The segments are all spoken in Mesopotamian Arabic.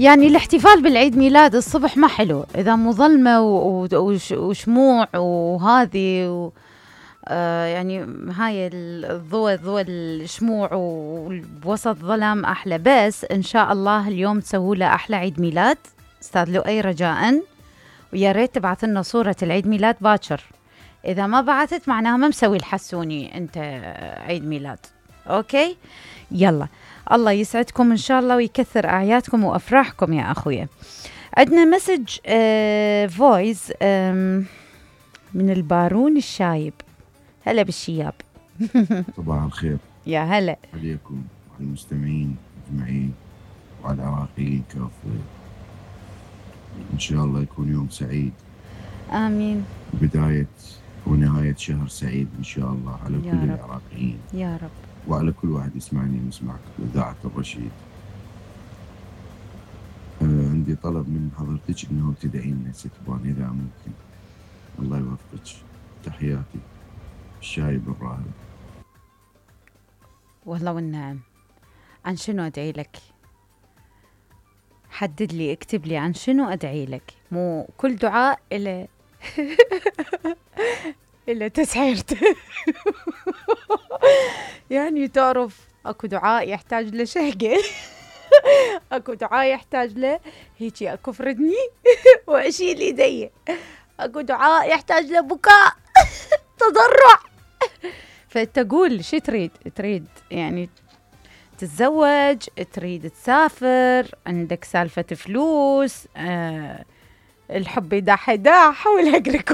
يعني الاحتفال بالعيد ميلاد الصبح ما حلو إذا مو ظلمة وشموع وهذه يعني هاي ضوء الشموع وبوسط ظلام أحلى. بس إن شاء الله اليوم تسووا له أحلى عيد ميلاد أستاذ لؤي رجاءً، ويا ريت تبعث لنا صورة العيد ميلاد باكر. إذا ما بعثت معناها ما مسوي الحسوني أنت عيد ميلاد. أوكي يلا، الله يسعدكم إن شاء الله ويكثر أعيادكم وأفراحكم يا أخويا. عندنا مسج فويس من البارون الشايب. هلا بالشياب. صباح الخير يا هلا عليكم وعلى المستمعين أجمعين وعلى العراقيين كافة. إن شاء الله يكون يوم سعيد، آمين. بداية ونهاية شهر سعيد إن شاء الله على كل رب. العراقيين يا رب، وعلى كل واحد يسمعني ويسمعك بإذاعة الرشيد. عندي طلب من حضرتك إنه تدعي لنا ستبان إذا ممكن. الله يوفقك. تحياتي الشايب الراهب. والله والنعم. عن شنو أدعي لك؟ حدد لي، اكتب لي عن شنو أدعي لك. مو كل دعاء إلى إلى تسعيرته. يعني تعرف أكو دعاء يحتاج لشهقة. أكو دعاء يحتاج له هيجي أكو فردني وأشيل إيدي. أكو دعاء يحتاج له بكاء تضرع. فتقول شو تريد يعني تتزوج، تريد تسافر، عندك سالفة فلوس، الحب يداح والهقرك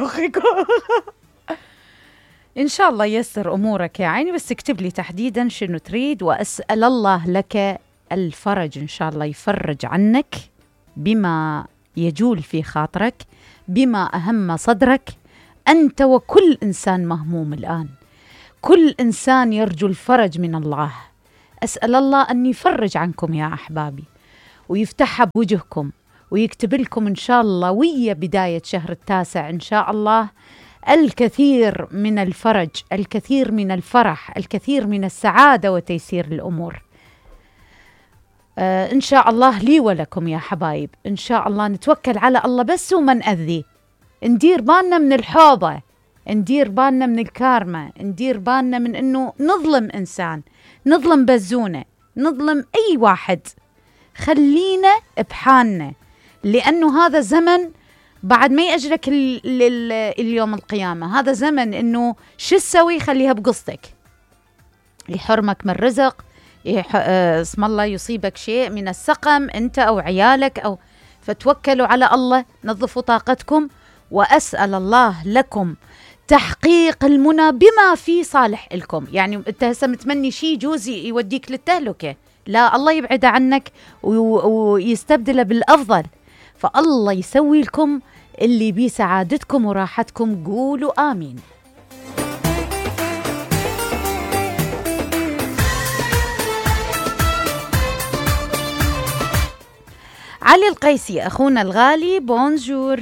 إن شاء الله يسر أمورك يا عيني. بس اكتب لي تحديدا شنو تريد، وأسأل الله لك الفرج إن شاء الله يفرج عنك بما يجول في خاطرك، بما أهم صدرك. أنت وكل إنسان مهموم الآن، كل إنسان يرجو الفرج من الله. أسأل الله أن يفرج عنكم يا أحبابي ويفتح بوجهكم ويكتب لكم إن شاء الله ويا بداية شهر التاسع إن شاء الله الكثير من الفرج، الكثير من الفرح، الكثير من السعادة وتيسير الأمور. إن شاء الله لي ولكم يا حبايب. إن شاء الله نتوكل على الله بس وما نأذي، ندير بالنا من الحوضة، ندير بالنا من الكارما، ندير بالنا من إنه نظلم إنسان، نظلم بزونة، نظلم أي واحد. خلينا بحالنا، لأنه هذا زمن بعد ما يأجلك اليوم القيامة. هذا زمن إنه شو تسوي؟ خليها بقصتك، يحرمك من رزق، اسم الله يصيبك شيء من السقم أنت أو عيالك أو فتوكلوا على الله، نظفوا طاقتكم. وأسأل الله لكم تحقيق المنى بما في صالح لكم. يعني أنت هسه متمني شيء جوزي يوديك للتهلكة، لا، الله يبعد عنك ويستبدله بالأفضل. فالله يسوي لكم اللي بيه سعادتكم وراحتكم. قولوا آمين. علي القيسي أخونا الغالي، بونجور.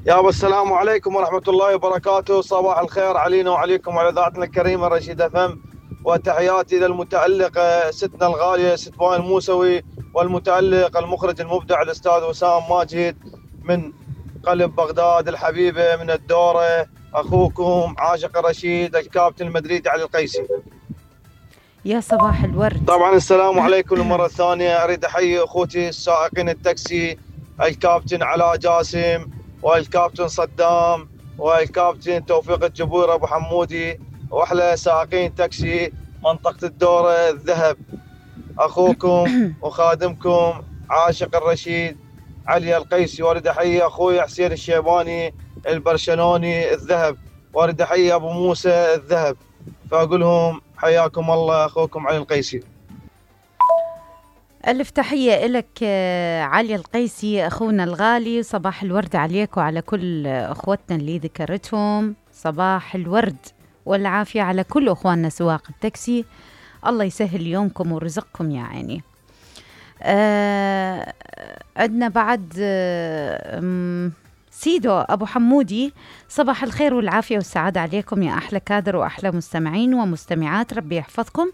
يابا السلام عليكم ورحمة الله وبركاته. صباح الخير علينا وعليكم وعلى ذاتنا الكريمة رشيد FM. وتحياتي للمتألق ستنا الغالية ستبان الموسوي، والمتألق المخرج المبدع الأستاذ وسام ماجد من قلب بغداد الحبيبة من الدورة. أخوكم عاشق الرشيد الكابتن المدريدي علي القيسي. يا صباح الورد. طبعا السلام عليكم مرة ثانية. أريد أحيي أخوتي السائقين التاكسي، الكابتن علاء جاسم والكابتن صدام والكابتن توفيق الجبور أبو حمودي، وأحلى سائقين تاكسي منطقة الدورة الذهب. أخوكم وخادمكم عاشق الرشيد علي القيسي. وارد أحيي أخوي حسين الشيباني البرشلوني الذهب، وارد أحيي أبو موسى الذهب. فأقولهم حياكم الله أخوكم علي القيسي. ألف تحية لك علي القيسي أخونا الغالي. صباح الورد عليك وعلى كل أخوتنا اللي ذكرتهم. صباح الورد والعافية على كل أخواننا سواق التاكسي. الله يسهل يومكم ورزقكم يا عيني. عندنا بعد سيدو أبو حمودي، صباح الخير والعافية والسعادة عليكم يا أحلى كادر وأحلى مستمعين ومستمعات، ربي يحفظكم.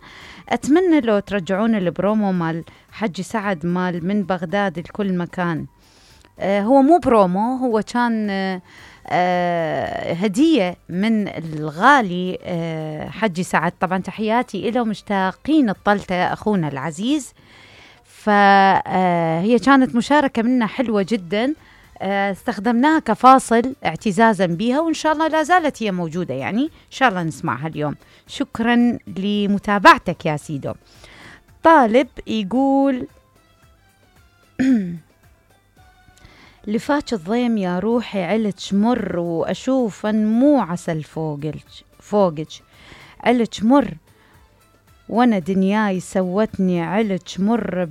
أتمنى لو ترجعون البرومو مال حجي سعد مال من بغداد لكل مكان. هو مو برومو، هو كان هدية من الغالي حجي سعد. طبعا تحياتي إله، مشتاقين الطلتة أخونا العزيز. فهي كانت مشاركة منا حلوة جدا، استخدمناها كفاصل اعتزازا بها، وإن شاء الله لا زالت هي موجودة، يعني إن شاء الله نسمعها اليوم. شكرا لمتابعتك يا سيدو. طالب يقول لفاش الضيم يا روحي علت مر، وأشوف مو عسل فوقج علت مر، وانا دنياي سوتني علت مر،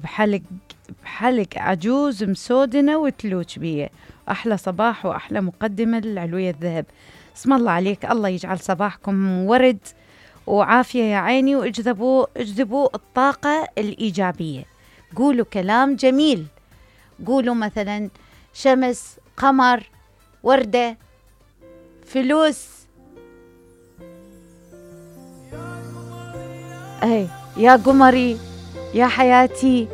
بحلق عجوز مسودنة وتلوج بيه. أحلى صباح وأحلى مقدمة للعلوية الذهب. اسم الله عليك، الله يجعل صباحكم ورد وعافية يا عيني، واجذبوا الطاقة الإيجابية. قولوا كلام جميل، قولوا مثلا شمس، قمر، وردة، فلوس، يا قمري، يا حياتي،